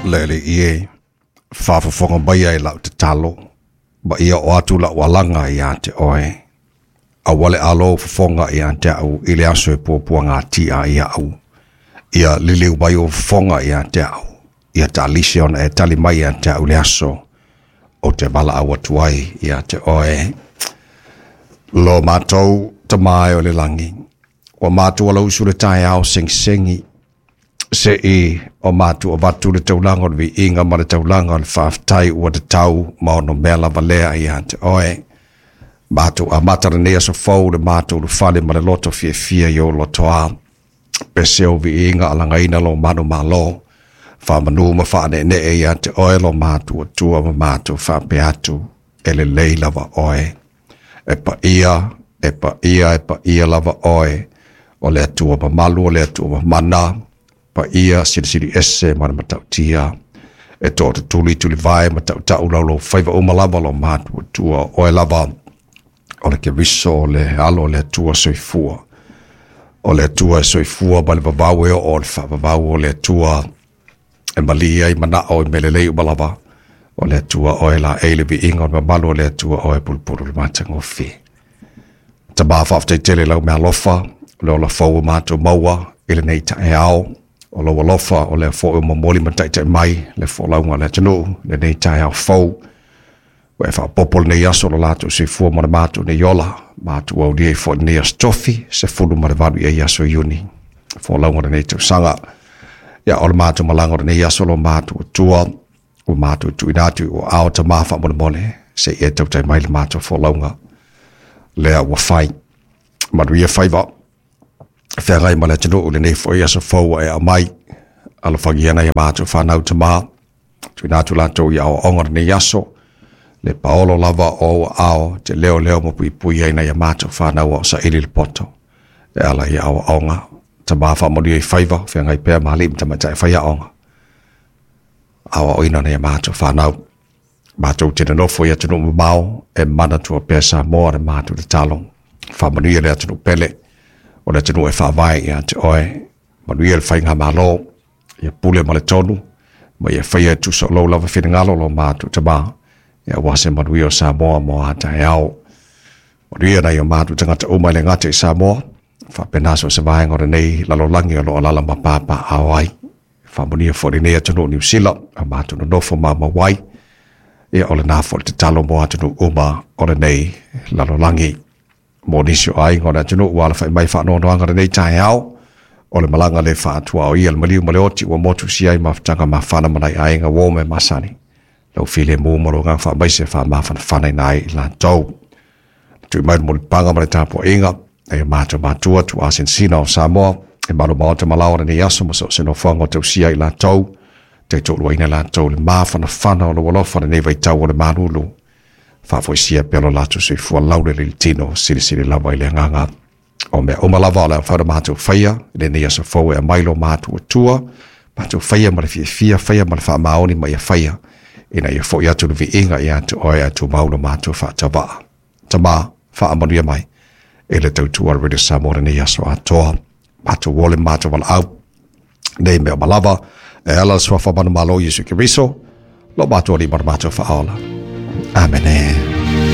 Le Alii e, faafofoga maia i lau tatalo, ma ia oo atu lau alaga ia te oe. Aua le alo ou fofoga ia te au i le aso e puapuagatia ai au. Ia liliu mai ou fofoga ia te au, ia taalisi ona e tali mai ia te au i le aso ou te valaau atu ai ia te oe. Lo matou Tama e o le lagi, ua matou alausu le taeao segisegi, se'i o matou avatu le taulaga o le viiga ma le taulaga o le faafetai ua tatau ma onomea lava lea ia te oe. Matou amata lenei aso fou le matou ulufale ma le loto fiafia i ou lotoa. Pese ou viiga alagaina lo manumalo, faamanu ma faaneenee ia te oe lo matou Atua ma matou faapea atu, e lelei lava oe. E paia, e paia, e paia lava oe, o le Atua mamalu, o le Atua mamana, paia silisili ese ma le matautia. E tootutuli tulivae ma tautau laulou faiva uma lava lo matou Atua, oe lava o le Keriso, o le Alo o le Atua soifua. O le Atua e soifua ma le vavau e oo o le faavavau, o le Atua e mali ai manao i mea lelei uma lava. O le Atua oe laei le viiga o le mamalu, o le Atua oe pulupulu le matagofie. Tama faafetai tele lau meaalofa, o le ola fou o matou maua i lenei taeao. O lou alofa o lea foi o momoli ma taitai mai le folauga o le atunuu lenei taeao fou. Ua e faaopoopo lenei aso lo latou soifua ma le matou nei ola. Matou aulia ai foi lenei aso tofi, 18 i ai aso Iuni, folauga o lenei tausaga. Ia, o le matou malaga o lenei aso lo matou Atua, ua matou tuuina atu i ou aao Tama faamolemole, se i e tautai mai le matou folauga lea ua fai. Manuia faiva, feagai ma le atunuu lenei foi aso fou ua e aumai. Alofagia nai a matou fanau Tama, tuuina atu latou i aoaoga lenei aso, le paolo lava o ou aao te leoleo ma puipui ai nai a matou fanau o saili le poto e ala i aoaoga. Tama faamanuia i faiva, feagai pea ma alii ma tamaitai faiaoga, aoaoina nai a matou fanau. Matou te nonofo i atunuu mamao, e manatua pea Samoa le matou tatalo. Faamanuia le atunuu pele, o le atunuu e faavae ia te oe. Manuia le faigamalo, ia pule ma le tonu, ma ia faia e tusa o lou lava finagalo lo matou Tama, ia aua se manuia o Samoa mo a taeao. Manuia nai o matou tagata uma e le gata i Samoa, faapena so o se vaega o lenei lalolagi o lo o alaala ma papaaao ai. Faamanuia foi lenei atunuu Niu Sila, a matou nonofo maumau ai, ia o lena foi le tatalo mo atunuu uma o lenei lalolagi. Mo nisi o aiga o le atunuu ua alafai mai faanoanoaga lenei taeao, o le malaga le faatuaoia le maliu ma le oti ua motusia ai mafutaga mafana ma nai aiga uo me masani. Lau filemu ma lou agaga faamaise faamafanafana ai i latou. Tui mai le mulipaga ma le tapuaiga, e matou matua tuuasinasina o Samoa, e malu maota ma laoa lenei aso ma so o se nofoaga o tausia i latou, taitoaluaina latou le mafanafana o lou alofa lenei vaitau o le malulu. Faafoisia pea lo latou soifua laulele i le tino, silisili lava i le agaga. O mea uma lava o le a mafai ona matou faia i lenei aso fou e aumai lo matou Atua, matou faia ma le fiafia, faia ma le faamaoni ma ia faia, ina ia foi atu le viiga ia te oe ae tumau lo matou faatauva. Tama, faamanuia mai e le tautua a le Radio Samoa lenei aso atoa. Matou ole matou valaau nei mea uma lava e ala le suafa manumalo Iesu Keriso, lo matou Alii ma lo matou Faaola. Amene.